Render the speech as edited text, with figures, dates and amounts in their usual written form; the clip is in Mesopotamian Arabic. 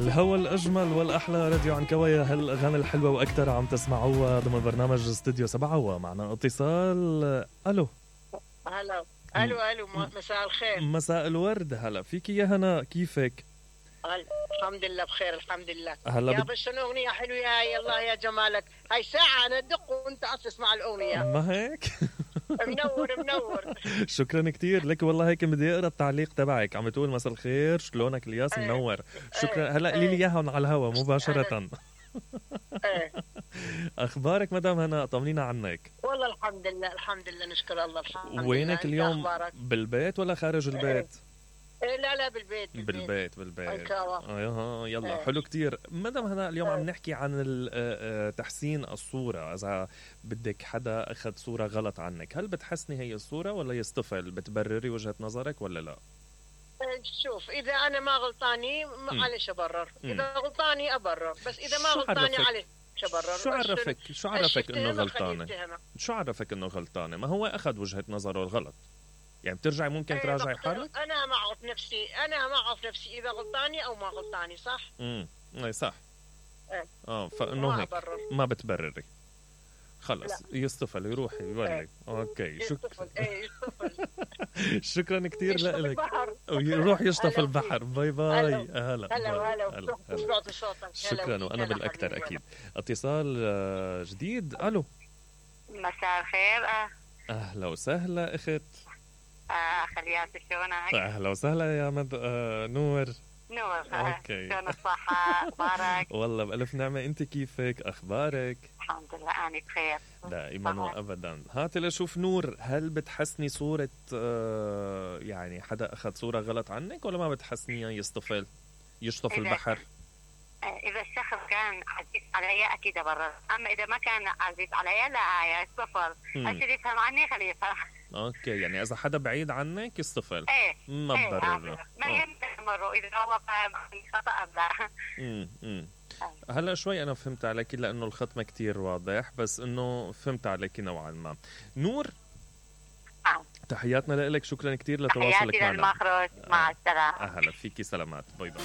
الهوى الأجمل والأحلى راديو عنكوية، هالأغاني الحلوة وأكتر عم تسمعوها ضمن برنامج استوديو 7. ومعنا اتصال. ألو. هلا. ألو مساء الخير. مساء الورد. هلا فيكي يا هنا، كيفك؟ الحمد لله بخير الحمد لله. هلا يا بس شنو أغنية حلوة يا الله يا جمالك. هاي ساعة أنا أدق وأنت تسمع الأغنية. ما هيك؟ منور. شكرا كتير لك والله. هيك بدي اقرا التعليق تبعك، عم بتقول مساء الخير شلونك الياس منور. شكرا. هلا قولي لي اياها على الهوا مباشرة. اخبارك مدام هنا؟ طمنينا عنك. والله الحمد لله نشكر الله الحمد لله. وينك اليوم؟ بالبيت ولا خارج البيت؟ لا بالبيت. يلا حلو كتير. مدام هنا اليوم عم نحكي عن تحسين الصورة. إذا بدك حدا أخذ صورة غلط عنك، هل بتحسني هي الصورة ولا يصطفل؟ بتبرري وجهة نظرك ولا لا؟ شوف، إذا أنا ما غلطاني معلش أبرر، إذا غلطاني أبرر، بس إذا ما غلطاني عليه أبرر. شو عرفك إنه غلطانة؟ شو عرفك إنه غلطانة؟ ما هو أخذ وجهة نظره الغلط، يعني بترجعي ممكن تراجعي حالك. انا ما اعرف نفسي اذا غلطاني او ما غلطاني. صح. اي صح. فانه هيك ما بتبرري خلص. يصطفل يروح يبلغ. اوكي يصطفل. شكرا كتير لك. ويروح يشطف البحر. باي باي. هلا. شكرا. وانا بالاكثر اكيد. اتصال جديد. الو. مساء الخير. اهلا وسهلا اخت. خليات شلونك؟ اهلا وسهلا يا نور. اوكي. شلون الصحة؟ اخبارك؟ والله بألف نعمة. انت كيفك؟ اخبارك؟ الحمد لله انا بخير دائما وابدا. هاتي لشوف نور، هل بتحسني صورة يعني حدا اخذ صورة غلط عنك ولا ما بتحسنيها يشطف البحر؟ اذا الشخص كان عزيز علي اكيد ابرر، اما اذا ما كان عزيز علي لا يصطفل. عشان يفهم عني خليه يفهم. اوكي، يعني اذا حدا بعيد عنك يصطفل. ما ببرر. ما يمروا اذا هو فاهم خطأ لا. هلا شوي انا فهمت عليك، لانه الخط ما كتير واضح، بس انه فهمت عليك نوعا ما. نور. تحياتنا لك. شكرا كتير لتواصلك معنا. تحياتي للمخرج. مع السلامة. اهلا فيكي. سلامات. باي باي.